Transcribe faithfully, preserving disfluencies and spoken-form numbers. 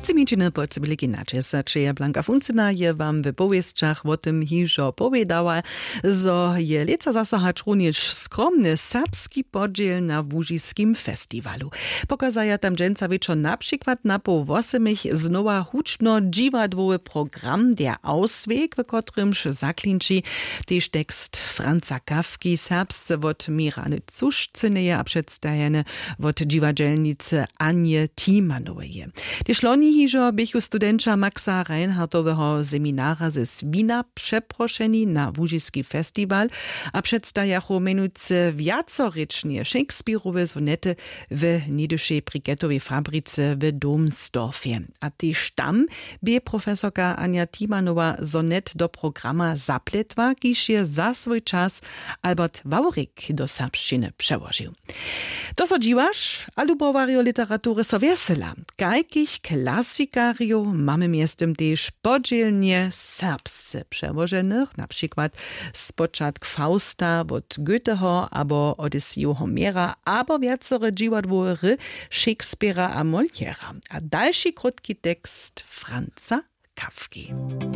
Tři minutiny po cybili kinače se čeje. Blanka Funcyna je wam w powěsćach wo tym hižo powědała, zo je lětsa zaso hač runjež skromny serbski podźěl na łužiskim festiwalu. Pokazaja tam dźensa wječor na přikład na poł wosymich znowa hudźbno dźiwadłowy program Der Ausweg, w kotrymž zaklinči tež tekst Franza Kafki serbsce wot Mirany Cušcyneje a předstajeny wot dźiwadźelnicy Anje Timanoweje. Tež loni hižo běchu studenća Maxa Reinhardtoweho seminara ze Swina přeprošeni na łužiski festiwal a předstajachu mjenujcy wjacorěčnje Shakespeareowe sonety w něhdyšej briketowej fabrice w Domsdorfje. A tež tam bě profesorka Anja Timanowa sonet do programa zapletła, kiž je za swój čas Albert Wawrik do serbšćiny přełožił. To so dźiwaš, a lubowarjo literatury so wjesela. Kajkich klasikarjow mamy mjeztym tež podźělnje serbsce přełoženych, na přikład spočatk Fausta wot Goetheho abo Odyseju Homera abo wjacore dźiwadłowe hry Shakespeara a Moliera a dalši krótki tekst Franza Kafki.